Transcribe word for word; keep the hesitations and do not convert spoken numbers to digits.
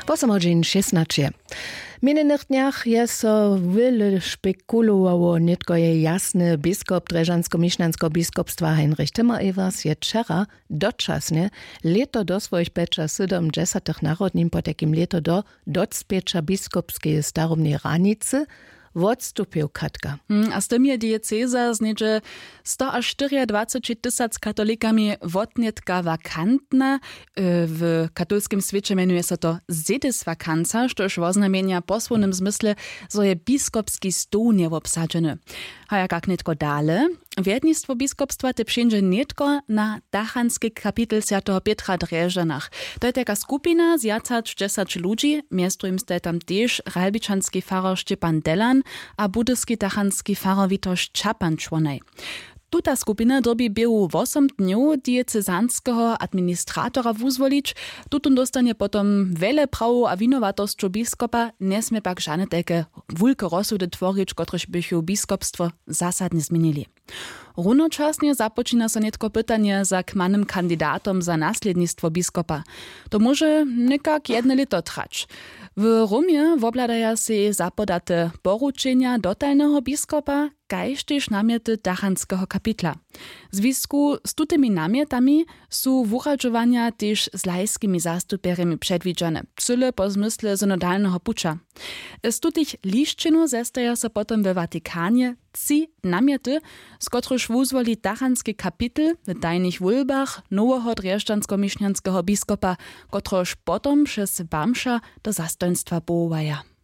Posomadźeń šěsnaće. W minjenych dnjach je so wjele špekulowało, nětko je jasny. Biskop drježdźansko-mišnjanskeho biskopstwa Heinrich Timmer-Evers je wčera dočasnje, lěto do swojich pjećasydomdźesatych narodnin, potajkim lěto do docpěća biskopskeje starobneje hranicy, wotstupył. Katka. Hm, a z tym je dieceza z něhdźe stoaštyriadwaceći tysac katolikami wotnětka wakantna. E, w katolskim swěće mjenuje so to sediswakanca, štož woznamjenja w posłownym zmysle, zo je biskopski stoł njewobsadźeny. A jak kak nětko dale? Wjednistwo biskopstwa te přińdźe nětko na tachanski kapitel swjateho pětra w drježdźanach. To je tajka skupina z wjac hač dźesać ludźi, mjez druhim staj tam tež ralbičanski farar Šćepan Delan a budyski tachanski farar Witoš Čapan čłonaj. Tuta skupina dyrbi běhu wosom dnjow diecezanskeho administratora wuzwolić. Tutón dóstanje potom wjele prawow a winowatosćow biskopa, njesmě pak žane tajke wulke rozsudy tworić, kotrež bychu biskopstwo zasadnje změnili. Runočasnje započina so nětko pytanje za kmanym kandidatom za naslědnistwo biskopa. To móže někak jedne lěto trać. W Romje wobhladaja sej zapodate poručenja dotalneho biskopa, kaž tež namjety dachanskeho kapitla. W zwisku z tutymi namjetami su wuradźowanja tež z lajskimi zastupjerjemi předwidźane, cyle po zmysle synodalneho puća. Z tutych lisćinow zestaja so potom we Vatikanje tři namjety, z kotrychž wuzwoli tachanski kapitel w tajnych wólbach noweho drježdźansko-mišnjanskeho biskopa, kotrehož potom přez bamša do zastojnstwa powołaja.